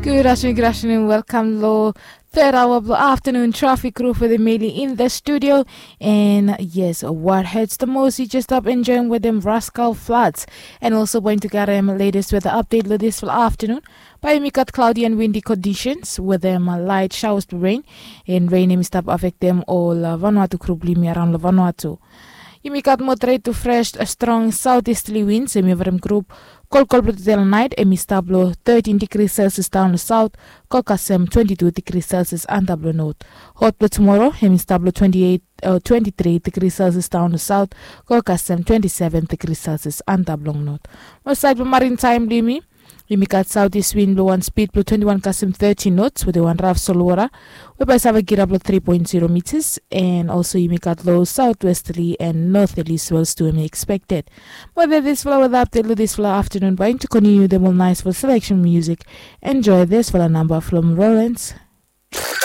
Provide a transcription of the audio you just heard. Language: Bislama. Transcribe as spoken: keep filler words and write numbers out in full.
Good afternoon, good afternoon. Welcome lo third hour blo afternoon traffic crew for the Meli in the studio. And yes, what hurts the most? You just stop enjoying with them Rascal Floods. And also going to get them latest weather update lo this for afternoon. By yumi got cloudy and windy conditions with them uh, light showers to rain. And rain yumi stop affect them all uh, Vanuatu group limi around lo Vanuatu. Yumi gat moderate to fresh strong southeasterly winds em yovrim group. Kolkol blo today lo night em i stap lo thirteen degrees Celsius down lo south, go kasem twenty-two degrees Celsius antap lo north. Hot blo tomorrow em i stap lo twenty-eight uh, twenty-three degrees Celsius down lo south, go kasem twenty-seven degrees Celsius antap long north. Mo side blo marine time blo yumi, yumi gat southeast wind blo wan speed blo twenty-one kasem thirty knots with a one rough solwara. Weba i save girap lo three point zero meters, and also yumi gat low southwesterly and northerly swells to be expected. Mo that is for with update lo this for afternoon, but to continue them all nice for selection music. Enjoy this for a number from Rollins.